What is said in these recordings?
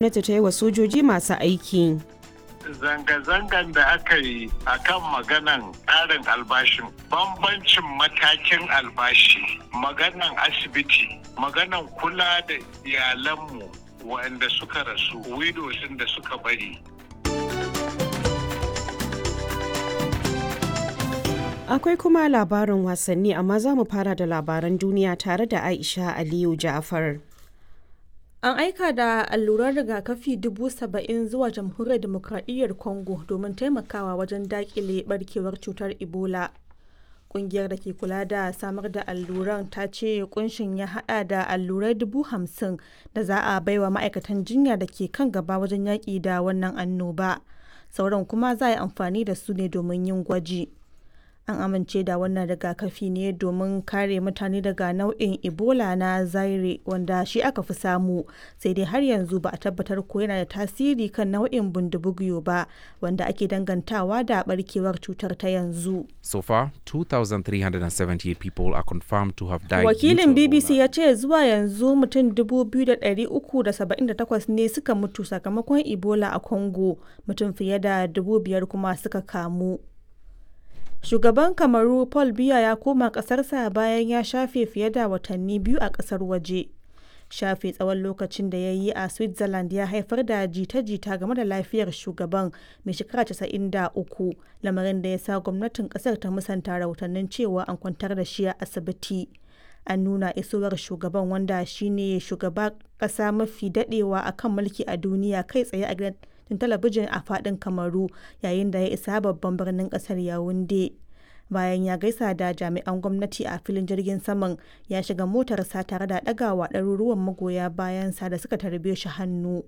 Gwamnati ta yi wa sojoji masu aiki. Zanga-zangan da aka yi a kan maganan ƙarin albashin, bambancin matakin albashi, maganan asibiti, maganan kula da iyalanmu waɗanda suka rasu, widows da suka bari. Akwai kuma labarin wasanni, amma za mu fara da labaran duniya tare da Aisha Aliyu Ja'far. An aika da alluran rigakafi 70,000 zuwa Jamhuriyar Dimokradiyyar Congo domin taimakawa wajen dakile barkewar cutar Ebola. Kungiyar da ke kula da samar da alluran ta ce kunshin ya hada da allurai 50,000 da za a baiwa ma'aikatan jinya da ke kan gaba wajen yaƙi da wannan annoba. Sauran kuma za a yi amfani da su ne domin yin gwaji. An amince da wannan rigakafi ne domin kare mutane daga nau'in Ebola na Zaire wanda shi aka fi samu, sai dai har yanzu ba a tabbatar ko yana da tasiri kan nau'in Bundibugyo ba wanda ake dangantawa da barkewar cutar ta yanzu. So far, 2,378 people are confirmed to have died. Wakilin BBC ya ce zuwa yanzu mutum 2,378 ne suka mutu sakamakon Ebola a Congo, mutum fiye da 5,000 kuma suka kamu. Shugaban Kamaru Paul Biya ya koma ƙasarsa bayan ya shafe fiye da watanni biyu a ƙasar waje. Shafe tsawon lokacin da ya yi a Switzerland ya haifar da jita-jita game da lafiyar shugaban mai shekara 93, lamarin da ya sa gwamnatin ƙasar ta musanta rahotannin cewa an kwantar da shi a asibiti. An nuna isowar shugaban, wanda shine shugaba ƙasa mafi daɗewa a kan mulki a duniya, kai tsaye a gidan talabijin a fadin Kamaru yayin da ya isa babban birnin kasar Yaounde. Bayan ya gaisa da jami'an gwamnati a filin jirgin saman, ya shiga motarsa tare da ɗagawa ɗaruruwan magoya bayansa da suka tarbe shi hannu.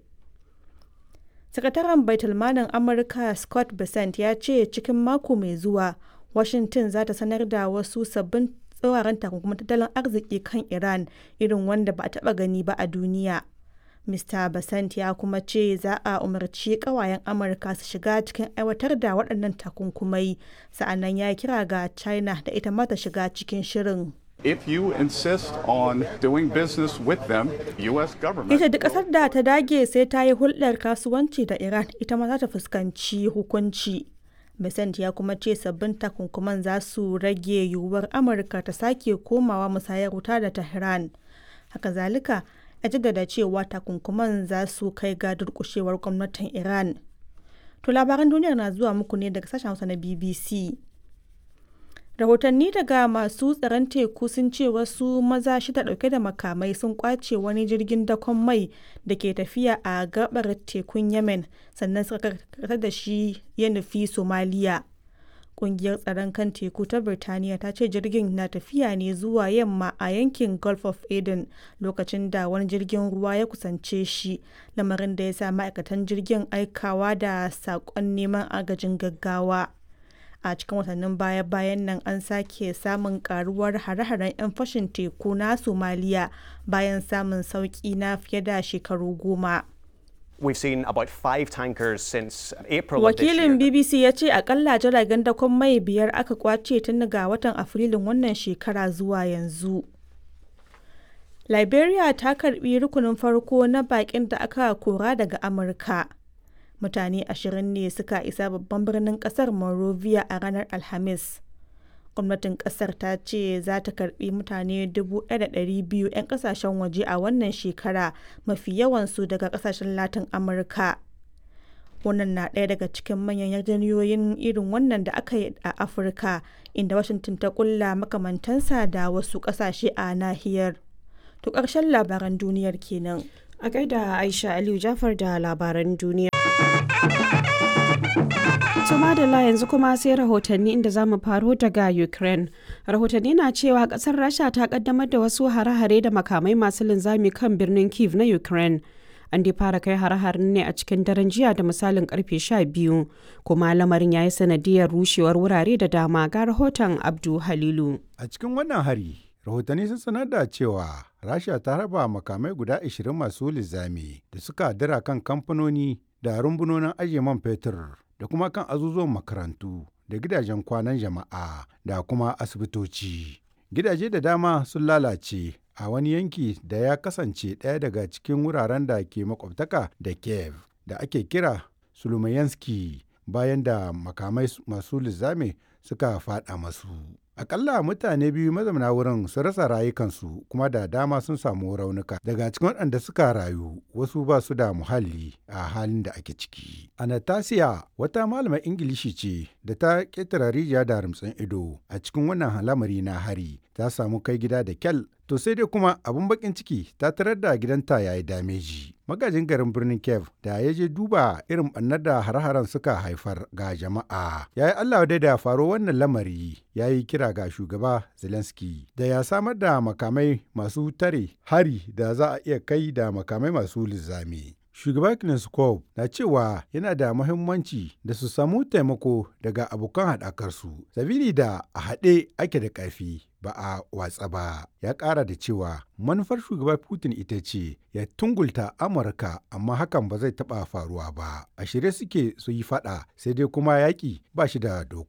Sakataren Baitulmalin Amurka Scott Bessent ya ce cikin mako mai zuwa Washington za ta sanar da wasu sabbin tsauraran takunkumin tattalin arziki kan Iran irin wanda ba a taɓa gani ba a duniya. Mr. Bessent ya kuma ce za a umarci kawayen Amurka su shiga cikin aiwatar da waɗannan takunkumai, sa'annan ya kira ga China da ita ma ta shiga cikin shirin. If you insist on doing business with them, U.S. government. Ita duk ƙasar da ta dage sai ta yi hulɗar kasuwanci da Iran, ita ma za ta fuskanci hukunci. Bessent ya kuma ce sabbin takunkuman za su rage yiwuwar Amurka ta sake komawa musayar wuta da Tehran. Haka zalika, ya jaddada cewa takunkuman za su kai ga durkushewar gwamnatin Iran. To, labaran duniyar na zuwa muku ne daga sashen Hausa na BBC. Rahotanni daga masu tsaron teku sun ce wasu maza shida dauke da makamai sun kwace wani jirgin dakon mai da ke tafiya a gabar tekun Yemen, sannan suka karkatar da shi ya nufi Somaliya. Kungiyar tsaron kan teku ta Birtaniya ta ce jirgin na tafiya ne zuwa yamma a yankin Gulf of Aden lokacin da wani jirgin ruwa ya kusance shi, lamarin da ya sa ma'aikatan jirgin aikawa da saƙon neman agajin gaggawa. A cikin watannin baya-bayan nan an sake samun karuwar hare-haren 'yan fashin teku na Somaliya bayan samun sauki na fiye da shekaru 10. We've seen about five tankers since April of this year. Wakilin BBC ya ce akalla jiragen dakon mai biyar aka kwace tun daga watan Afrilun wannan shekara zuwa yanzu. Liberia ta karbi rukunin farko na bakin da aka kora daga Amurka. Mutane 20 ne suka isa babban birnin kasar Monrovia a ranar Alhamis. Gwamnatin kasar ta ce za ta karbi mutane 1,200 'yan kasashen waje a wannan shekara, mafi yawansu daga kasashen Latin Amurka. Wannan na ɗaya daga cikin manyan yarjejeniyoyin irin wannan da aka yi a Afirka, inda Washington ta kulla makamantansa da wasu ƙasashe a nahiyar. To, ƙarshen labaran duniyar kenan. A gaida Aisha Aliyu Jafar da labaran duniya. To madalla, yanzu kuma sai rahotanni, inda za mu faro daga Ukraine. Rahotanni na cewa kasar Rasha ta kaddamar da wasu hare-hare da makamai masu linzami kan birnin Kiev na Ukraine. An dai fara kai hare-haren ne a cikin daren jiya da misalin karfe 12, kuma lamarin ya yi sanadiyar rushewar wurare da dama. Ga rahoton Abdu Halilu. A cikin wannan hari, rahotanni sun sanar da cewa Rasha ta raba makamai guda 20 masu linzami da suka dira kan kamfanoni da rumbunonin ajiye man fetur da kuma kan azuzuwan makarantu da gidajen kwanan jama'a da kuma asibitoci. Gidaje da dama sun lalace. a wani yanki da ya kasance ɗaya daga cikin wuraren da ke makwabtaka da Kiev da ake kira Sulumayanski bayan da makamai masu linzami suka faɗa masu. Akalla mutane 2 mazauna wurin sun rasa rayukansu kuma da dama sun samu raunuka. Daga cikin waɗanda suka rayu, wasu ba su da muhalli a halin da ake ciki. Anastasia wata malamar Ingilishi ce da ta ƙetare rijiya da rumtsin ido a cikin wannan lamari na hari, ta samu kai gida da kyal. To sai dai kuma abin bakin ciki ta tarar da gidanta ya yi dameji. Magajin garin birnin Kiev da ya je duba irin ɓannar da har-haren suka haifar ga jama'a, ya yi Allah wadai da faro wannan lamari, ya yi kira ga shugaba Zelensky da ya samar da makamai masu tare hari da za a iya kai da makamai masu linzami. Shugaba Kneskov na cewa yana da muhimmanci da su samu taimako daga abokan haɗakarsu, sabili da a haɗe ake da ƙarfi ba a watsa ba. Ya ƙara da cewa manufar shugaba Putin ita ce ya tungulta Amurka, amma hakan ba zai taɓa faruwa ba. A shirye suke su yi faɗa, sai dai kuma yaƙi ba shi da doka.